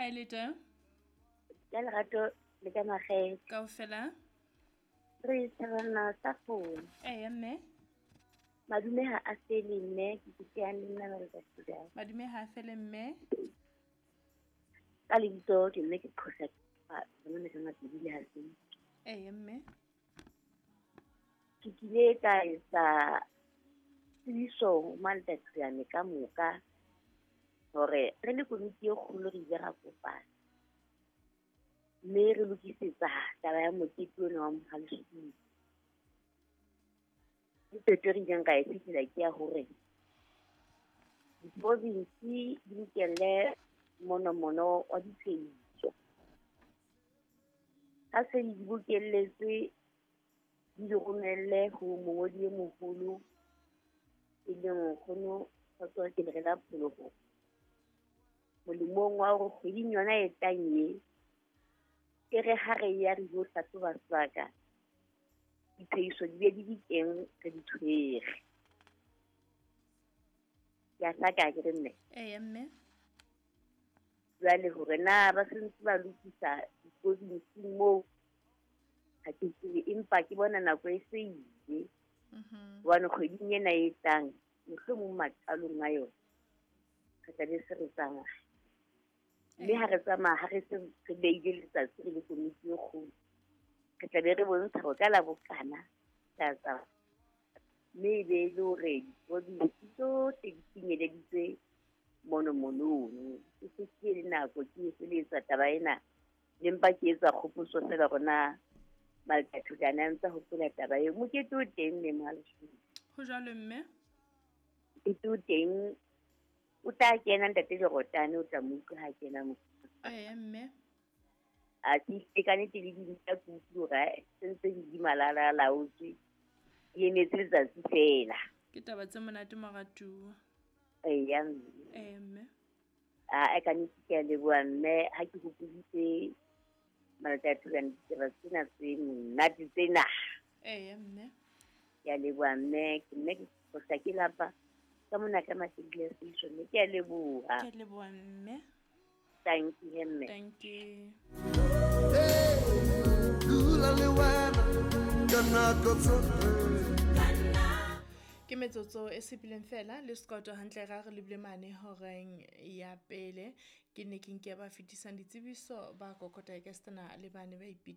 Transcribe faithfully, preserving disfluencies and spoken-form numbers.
Ha e le teng? Ka lerato le ka makgethe. Kaofela? Re thabana sa founu. Eya mme. Madume ha a fele mme, ke kutlwang le nna ba le Madume ha a fele mme. Ka lebitso ke mme ke qhosa bona ka mabidi ha se. Eya mme. Ke kile ka etsa tsebiso Maltatsiane ka moka hore re le komiti e kgolo re ile ra kopana. Mme re lokisetsa taba ya mokete ona wa Mohale'Shoek. Ke qeto e re ileng ra e fihlela ke ya hore diprovinsi di bokelle monomono wa diphehiso. Ha se di bokelletswe, di di romelle ho mongodi e moholo e leng nkgono Kgotso ke le Pholoho. Molemong wa hore kgweding yona e tlang e, e re ha re ya re yo hlahloba sebaka, diphehiso di be di di teng re di tshwere. Ke a hlaka akere mme? Eya mme. Jwale hore na ba sentse ba lokisa diprovinsing moo ha ke tsebe, empa ke bona nako e se ile. Hobane kgweding ena e tlang, mohlomong maqalong a yona, re tla be se re tsamaya. Mme ha re tsamaya, ha re se re behile letsatsi re le komiti e kgolo, re tla be re bontsha hore ka la bokana tla tsamaya. Mme e be e le hore diprovinsi tsohle di finyeleditse monomono ono. E se ke le nako ke e feletsa taba ena, le mpa ke etsa kgopotso feela hore na Maltathutane a ntse a hopola taba eo. Mokete o teng mme Mohale'Shoek. Ho jwalo mme? Mokete o teng, o tla kena ntate Lerotane, o tla mo utlwa ha kena mo. Eya mme. A ke hlile ka nnete le dinta ke utlwe hore se ntse di di malala laotswe, di emetse letsatsi feela. Ke taba tse monate moratuwa. Eya mme. Eya mme. A ka nnete ke a leboha mme, ha ke hopoditse Maltathutane ditaba tsena tse monate tsena. Eya mme. Ke a leboha mme, ke mme ke qosa ke lapa ka mona ka Matebele Station, mme ke a leboha. Ke a leboha mme. Thank you mme. Thank you. Dula le wena ka nako tsohle. Ke metsotso e sepileng fela le Scott hantle ra re lebile mane horeng ya pele. Ke ne ke nke ba fetisang ditsebiso ba kokota e ka stana le bane ba ipi